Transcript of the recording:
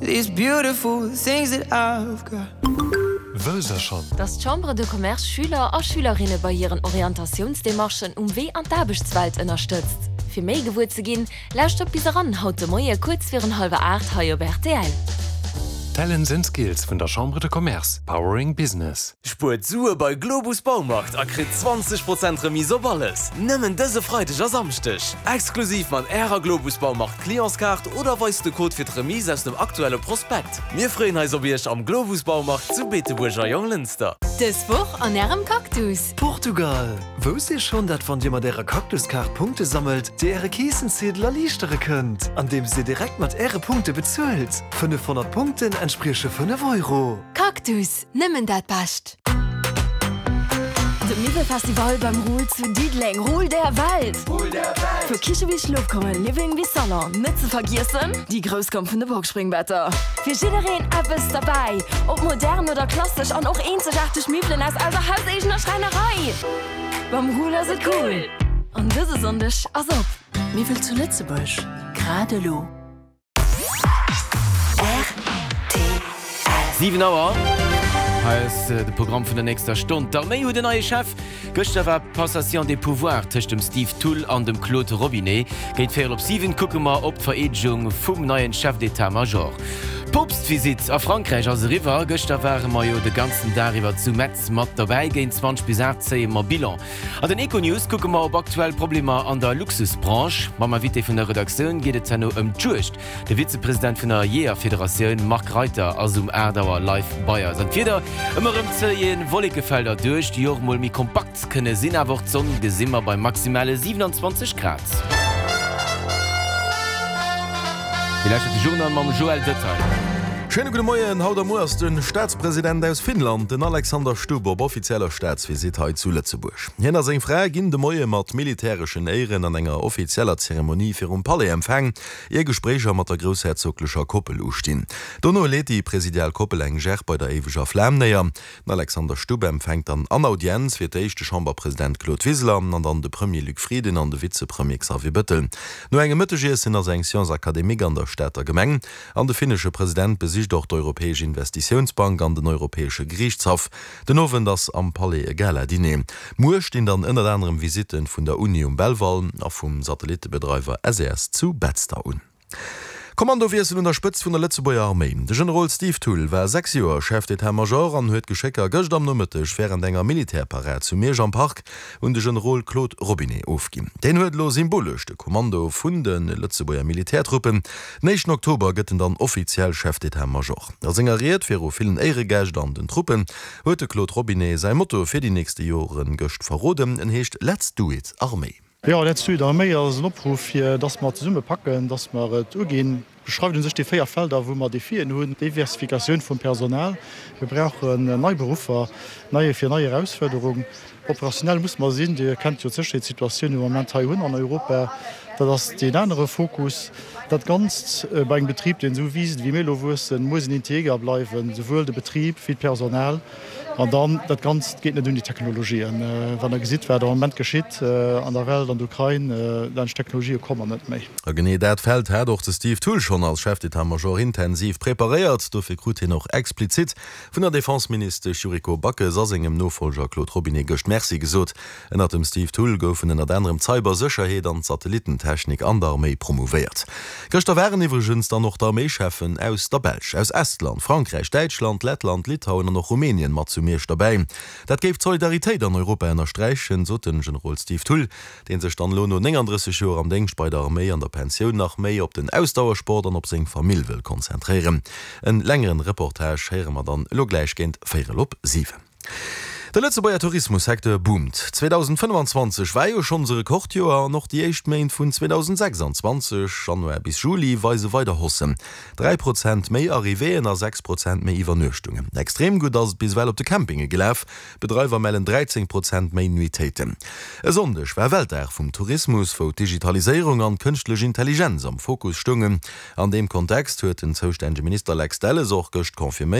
These beautiful things that I've got. Wësst der schonn? Dass d'Chambre de Commerce Schüler a Schülerinne bei hiren Orientatiounsdemarchen um Wee an d'Aarbechtswelt ënnerstëtzt? Fir méi gewuer ze ginn, lauschtert bis eran haut de Moie kuerz virun hallwer 8 hei op rtl. Talents and Skills vun der Chambre de Commerce, powering business. Spuert Sue bei Globus Baumarkt a kritt 20 Prozent Remise op alles! Nëmmen dëse Freideg a Samschdeg! Exklusiv mat Ärer Globus Baumarkt Clientskaart oder weist de Code fir d'Remise aus dem aktuelle Prospekt. Mir freeën eis op Iech am Globus Baumarkt zu Beetebuerg a Jonglënster. Dës Woch an Ärem Cactus! Portugal! Wousst Dir schonn, dat wann Dir mat Ärer Cactuskaart Punkte sammelt, Dir Äre Keessenziedel erliichtere kënnt, andeems Dir direkt mat Äre Punkte bezuelt? 500 Punkten entsprieche 5 Euro. Cactus! Nëmmen dat Bescht! De Miwwelfestival beim Ruhl zu Diddeleng, Ruhl der Welt! Vu Kiche bis Schlofkummer, Living bis Salon, net ze vergiessen déi grouss Komm vun de Boxspringbetter. Fir jiddereen eppes derbäi, ob modern oder klassesch an och eenzegaarteg Miwwelen aus eiser hauseegener Schräinerei. Beim Ruhl ass et cool! An dëse Sonndeg ass op! Miwwel zu Lëtzebuerg, grad elo. 7 Auer, hei ass de Programm vun der nächster Stonn. D'Arméi huet en neie Chef. Gëschter war d'Passation des pouvoirs tëscht dem Steve Thull an dem Claude Robinet. Géint véierel op 7 kucke mer op d'Vereedegung vum neien Chef d'état-major. D'Poopstvisitt a Frankräich ass eriwwer. Gëschter ware mer jo de ganzen Dag iwwer zu Metz mat derbäi. Géint 20 bis 8 zéie mer Bilan. An den Econews kucke mer op aktuell Problemer an der Luxusbranche. Mam Invité vun der Redaktioun geet et herno ëm d'Juegd. De Vizepresident vun der Jeeërfederatioun Marc Reiter ass um 8 Auer live bei eis. An d'Wieder, ëmmer erëm zéie Wollekefelder duerch, déi och mol méi kompakt kënne sinn. Awer och d'Sonn gesi mer bei maximale 27 Grad. Dir lauschtert de Journal mam Joël Detaille. Schéine gudde Moien. Haut a muer ass de Staatspresident aus Finnland, den Alexander Stubb, op offizieller Staatsvisitt hei zu Lëtzebuerg. Hien a seng Fra ginn de Moie mat militäreschen Éieren an enger offizieller Zeremonie virum Palais empfaang, ier Gespréicher mat der groussherzoglecher Koppel ustinn. Dono leet déi presidial Koppel eng Gerb bei der éiweger Flam néier. Den Alexander Stubb empfänkt dann an Audienz fir d'éischt de Chamberpresident Claude Wiseler an dann de Premier Luc Frieden an de Vizepremier Xavier Bettel. No engem Mëttegiessen ass eng Science académique an der Stater Gemeng an de finnesche President besicht och d'Europäesch Investitiounsbank an den Europäesche Geriichtshaff. Den Owend ass am Palais e Gala-Diner. Muer stinn dann ënnert anerem Visitte vun der Uni um Belval a vum Satellitebedreiwer SES zu Betzder un. Kommandowiessel un der Spëtzt vun der Lëtzebuerger Arméi. De Generol Steve Thull war 6 Joer Chef d'Etat-Major an huet d'Geschécker gëscht am Nomëtteg wärend enger Militärparad zu Miersch am Park un de Generol Claude Robinet ofginn. Deen huet elo symbolesch de Kommando vun de Lëtzebuerger Militärtruppen. Den éischten Oktober gëtt en dann offiziell Chef d'Etat-Major. A senger Ried viru villen Éieregäscht an den Truppen huet de Claude Robinet säi Motto fir déi nächste Joren gëscht verroden. En heescht Let's do it Arméi. Jo, Let's do it Arméi ass en Opruff, fir dass mer zesumme packen, dass mer et uginn. Beschreift u sech déi 4 Felder, wou mer Defien hunn, Diversifikatioun vum Personal, mir brauchen nei Beruffer, nei fir nei Erausfuerderung. Operationell musse mer sinn, Dir kennt jo d'Sécherheetssituatioun, déi mer am Moment hei hunn an Europa, dat ass deen anere Fokus. Dat Ganzt bei engem Betrib, deen esou wiisst, wéi mir elo wuessen, muss en integer bleiwen, souwuel de Betrib wéi d'Personal. An dann, dat Ganzt geet net ouni Technologien. Wann Der gesitt, wat am Moment geschitt an der Welt, an der Ukrain, laanscht Technologië komme mer net méi. A genee dat Feld hat och de Steve Thull schonn als Chef d'état-major intensiv preparéiert. Dofir krut hien och explizit vun der Defenseministesch Yuriko Backes a sengem Nofollger Claude Robinet gëscht Merci gesot. Ënnert dem Steve Thull goufen ënnert anerem d'Cybersécherheet an d'Satellitentechnik an der Arméi promouvéiert. Gëschter waren iwwregens dann och d'Arméischeffen aus der Belsch, aus Estland, Frankräich, Däitschland, Lettland, Litauen an och Rumänien mat zu Miersch derbäi. Dat géif d'Solidaritéit an Europa ënnersträichen, sot den Generol Steve Thull, dee sech dann elo no 39 Joer am Déngscht bei der Arméi an der Pensioun nach méi op den Ausdauersport an op seng Famill wëll konzentréieren. En längeren Reportage héiere mer dann elo gläich géint véierel op 7. De Lëtzebuerger Tourismussecteur boomt. 2025 war jo schonns e Rekordjoer an och déi éischt Méint vun 2026, Januar bis Juli, weise weider Haussen. 3 Prozent méi Arrivéeën a 6 Prozent méi Iwwernuechtungen. Extrem gutt ass et bis ewell op de Campinge gelaf, Bedreiwer mellen 13 Prozent méi Nuitéiten. E Sonndeg war Weltdag vum Tourismus, wou d'Digitaliséierung an d'kënschtlech Intelligenz am Fokus stoungen. An deem Kontext huet den zoustännege Minister Lex Delles och gëscht confirméiert.